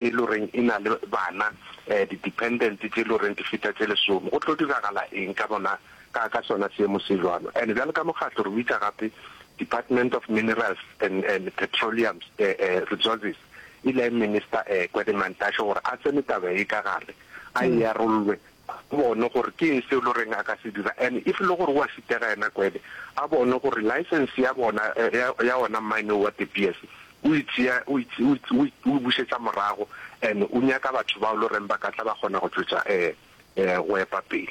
E le goreng e na le bana, di-dependent tše e le goreng di feta tše lesome. Go tlo diragala eng ka bona ka ka sona seemo se jwalo? And bjalo ka mokgatlo re bitša gape Department of Minerals and and Petroleum Resources e lae Minister Gwede Mantashe gore a tsene taba ye ka gare, a e arollwe, a bone gore ke eng seo e le goreng a ka se dira. And if e le gore o a šitega yena Gwede, a bone gore license ya bona ya ya ona mine wo wa De Beers O e tšea, o e, o e, o e, o e bušetša morago, and o nyaka batho bao le goreng ba ka tla ba kgona go tšwetša eh, eh, go epa pele.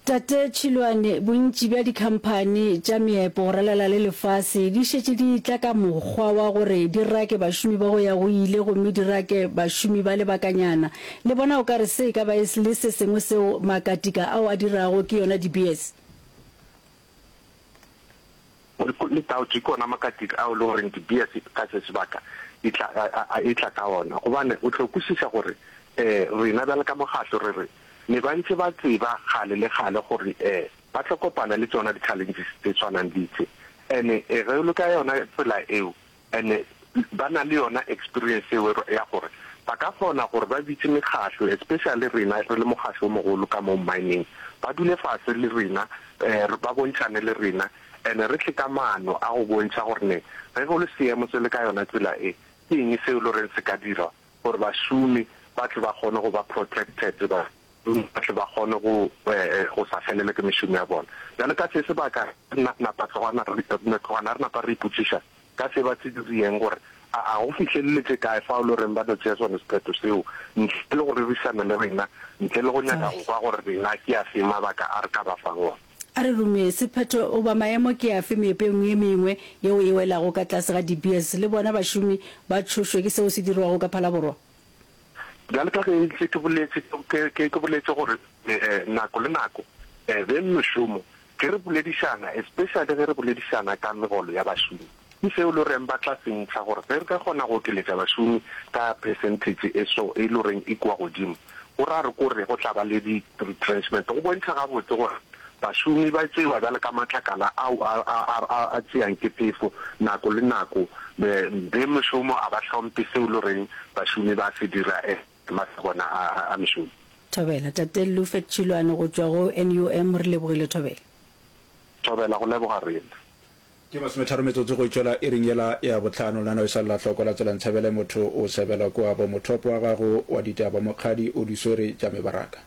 Tate Tšhilwane, bontši bja dikhamphani tša meepo go ralala le lefase di šetše di etla ka mokgwa wa gore di rake bašomi ba go ya go ile gomme di rake bašomi ba lebakanyana. Le bona o ka re se e ka ba e le se sengwe seo makatika ao a dirago ke yona De Beers? Le taotše ke ona makatika ao e le goreng De Beers ka se sebaka e tla, a, e tla ka ona. Gobane o tlo kwešiša gore um rena bjalo ka mokgatlo re re ne ba ntše ba tseba kgale le kgale gore um ba tlo kopana le tšona di-challenges tše tshwanang le tše. And-e ge o le ka yona tsela eo, And ba na le yona experience eo ya gore ba ka kgona gore ba bitše mekgahlo, especially rena re le mokgahlo o mogolo ka mo mining, ba dule fase le rena, ba bontšhane le rena and re tle ka maano a go bontšha gore ne ge go le seemo se le ka yona tsela e, ke eng seo e le goreng se ka dirwa gore bašomi ba tle ba kgone go ba protected, ba tle ba kgone go go sa felelwe ke mešomo ya bona. Bjale ka se sebaka re napa tlogana re napa re ipotšiša Ka se ba se diriyeng gore a a go fihleleletše kae fao le goreng ba no tšea sona sephetho seo ntle le go rerišana le rena, ntle le go nyaka go kwa gore rena ke afe mabaka a re ka ba fang ona. A re rume, sephetho goba maemo ke afe meepong ye mengwe yeo e welago ka tlase ga De Beers le bona bašomi ba tšhošwe ke seo se dirwago ka Phalaborwa? Bjalo ka ge ntše ke boletše, ke, ke, ke boletše gore nako le nako beng mešomo Ge re boledišana, especially ge re boledišana ka megolo ya bašomi, ke seo e le goreng ba tla se ntšha gore ge re ka kgona go okeletša bašomi ka percentage e so e le goreng e kua godimo, go ra re kore go tla ba le di retrenchment. Go bontšha gabotse gore bašomi ba tšewa bjalo ka matlakala ao a, a, a, a, a tšeang ke phefo nako le nako. Beng mešomo a ba hlomphe seo e le goreng bašomi ba se dira maatla a bona a, a mešomo. Thobela. Tate Lufet Tšhilwane go tšwa go NUM, re lebogile Thobela. Thobela, go leboga rena. Ke masometharo metsotso go itšwela iring yela ya bohlano. Lenaneo e sa le la hloko la tsela Ntshabele motho o sebelwa kua bo mothopo wa gago wa ditaba Mokgadi o di swere tša mebaraka.